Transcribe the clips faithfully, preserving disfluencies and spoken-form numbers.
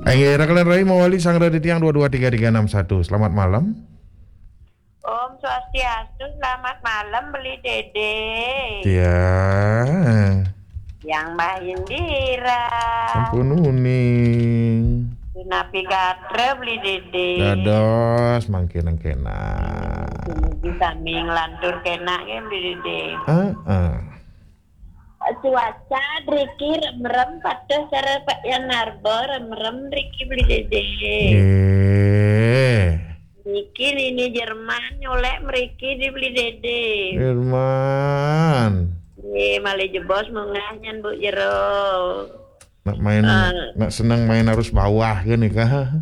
Inggih, raka lan rai mawali sanggra titiang dua dua tiga tiga enam satu. Selamat malam. Om Swastiastu, selamat malam, Beli Dede. Tiang. Yang Mbah Indira. Sampun uning. Punapi gatra, Beli Dede? Dados, mangkin kenak. Dumugi sami nglantur kenak nggih, Beli Dede. Heeh. Cuaca driki remrem, patuh sareng Pak Yan Narba, remrem driki, Beli Dede. Nggih. Niki Nini Jerman nyolek mriki di, Beli Dede. Jerman. Nggih, malih jebos munggah nyen, Bu, jero. Nak main, Ah. nak seneng main arus bawah kan nika.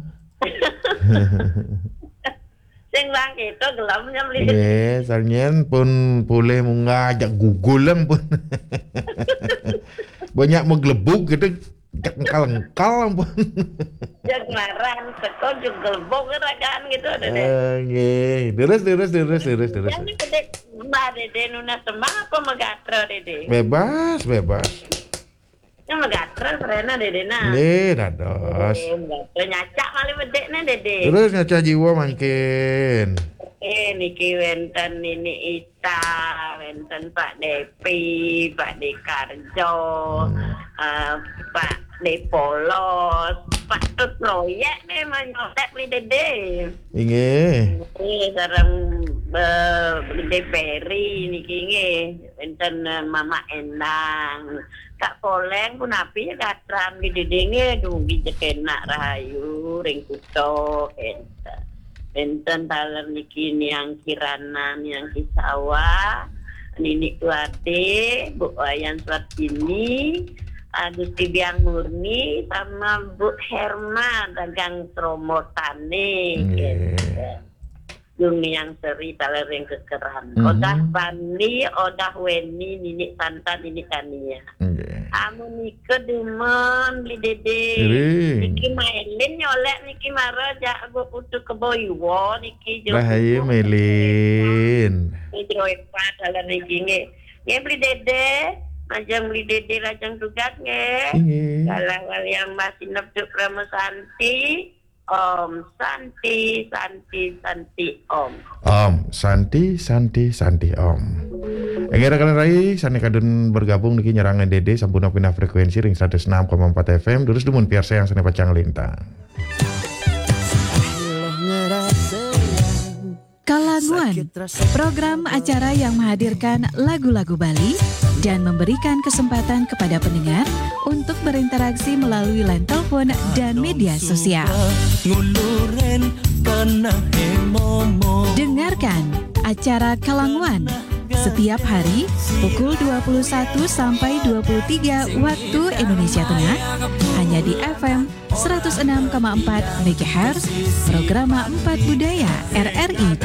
Sing bang itu gelamnya, Beli Dede. Nggih, sanyen pun boleh munggah ajak gugul lang pun. Banyak menggelebuk gitu, jak engkal-engkal ampun. Jak ngarang, teko juga gelebuk ragaan gitu, Dede. Eh, nggih. Terus, terus, terus, terus, terus. Yang ini gede, Mbah Dede nunas tembang apa megatra, Dede? Bebas, bebas. Yang megatra, serena, Dede, nah. Nggih, dados. Eh, megatra nyacak malih bedekne, Dede. Terus nyacak jiwa mangkin. Eh, niki wenten Nini Ita, wenten Pak Depi, Pak Dekarjo, Hmm. eh, Pak Depolos, Pak Tut Proyek nih, menyontek nih, Dede. Inggih. Nggih, sareng, eh, Dede Peri niki nggih. Wenten, eh, Mama Endang. Kak Poleng punapi ya gatran nggih, Dede nggih, dumugi jekenak rahayu ring kuto, enten. Enten taler niki Niang Kirana, Niang Kisawa, Nini Tuate, Bu Wayan Suartini, Agusti Biang Murni, sama Bu Herma, dagang Tromotane, Nggih. enten. Dumiang Seri taler ring kekeran. Mhm. Odah Bani, Odah Weni, Nini Santan, Nini Tania. Nggih. Amun nika dumun, Beli Dede. Iring. Niki Mailin nyolek niki mara jak Agung Putu Kebo Iwa niki, Jok. Rahayu, Iwa. Melin. Niki Jero Epa taler niki nggih. Nggih, Beli Dede, majeng Beli Dede lajeng tugas nggih. Inggih. Galah waliang Mbah Sinep Duk Parama Santi. Om Santi, Santi, Santi, Om. Om Santi, Santi, Santi, Om. Inggih, raka lan rai, sane kadun bergabung niki nyerang Dede, sampun pindah frekuensi ring seratus enam koma empat F M, terus dumun piarsayang sane pacang lintang. Kalanguan, program acara yang menghadirkan lagu-lagu Bali dan memberikan kesempatan kepada pendengar untuk berinteraksi melalui line telepon dan media sosial. Dengarkan acara Kalanguan setiap hari pukul dua puluh satu sampai dua puluh tiga waktu Indonesia Tengah, hanya di F M seratus enam koma empat megahertz, Programa Empat Budaya, R R I